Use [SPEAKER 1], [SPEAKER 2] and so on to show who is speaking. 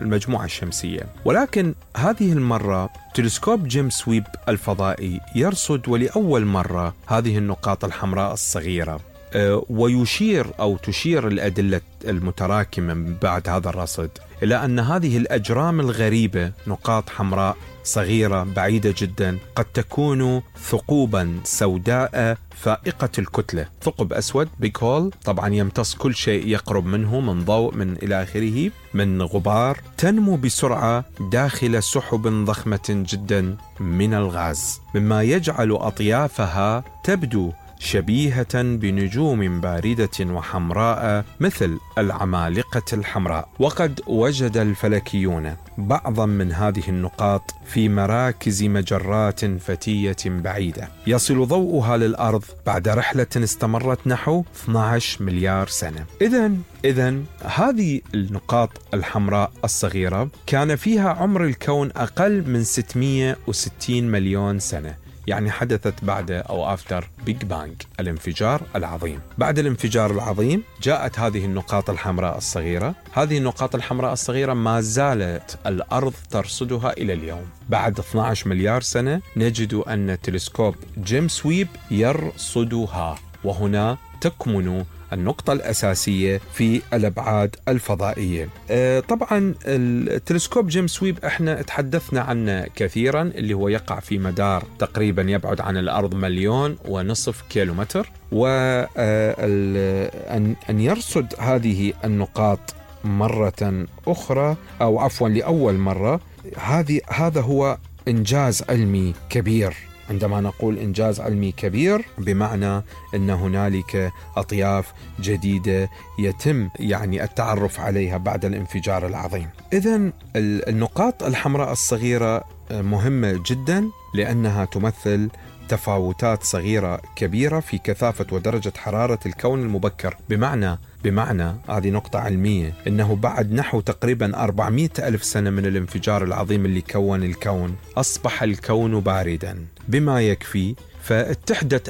[SPEAKER 1] المجموعة الشمسية. ولكن هذه المرة تلسكوب جيمس ويب الفضائي يرصد ولأول مرة هذه النقاط الحمراء الصغيرة، ويشير أو تشير الأدلة المتراكمة من بعد هذا الرصد إلى أن هذه الأجرام الغريبة، نقاط حمراء صغيرة بعيدة جدا، قد تكون ثقوبا سوداء فائقة الكتلة، ثقب أسود بيج هول، طبعا يمتص كل شيء يقرب منه من ضوء من إلى آخره من غبار، تنمو بسرعة داخل سحب ضخمة جدا من الغاز، مما يجعل أطيافها تبدو شبيهة بنجوم باردة وحمراء مثل العمالقة الحمراء. وقد وجد الفلكيون بعضا من هذه النقاط في مراكز مجرات فتية بعيدة يصل ضوءها للأرض بعد رحلة استمرت نحو 12 مليار سنة. إذن هذه النقاط الحمراء الصغيرة كان فيها عمر الكون أقل من 660 مليون سنة، يعني حدثت بعد أو after Big Bang، الانفجار العظيم. بعد الانفجار العظيم جاءت هذه النقاط الحمراء الصغيرة. هذه النقاط الحمراء الصغيرة ما زالت الأرض ترصدها إلى اليوم. بعد 12 مليار سنة نجد أن تلسكوب جيمس ويب يرصدها، وهنا تكمن النقطة الأساسية في الأبعاد الفضائية. طبعا التلسكوب جيمس ويب احنا تحدثنا عنه كثيرا، اللي هو يقع في مدار تقريبا يبعد عن الأرض 1.5 مليون كيلومتر، وأن يرصد هذه النقاط مرة أخرى أو عفوا لأول مرة، هذا هو إنجاز علمي كبير. عندما نقول إنجاز علمي كبير بمعنى أن هنالك أطياف جديدة يتم يعني التعرف عليها بعد الانفجار العظيم. إذن النقاط الحمراء الصغيرة مهمة جدا لأنها تمثل تفاوتات صغيرة كبيرة في كثافة ودرجة حرارة الكون المبكر. بمعنى هذه نقطة علمية، إنه بعد نحو تقريبا 400 ألف سنة من الانفجار العظيم اللي كون الكون، أصبح الكون باردا بما يكفي، فاتحدت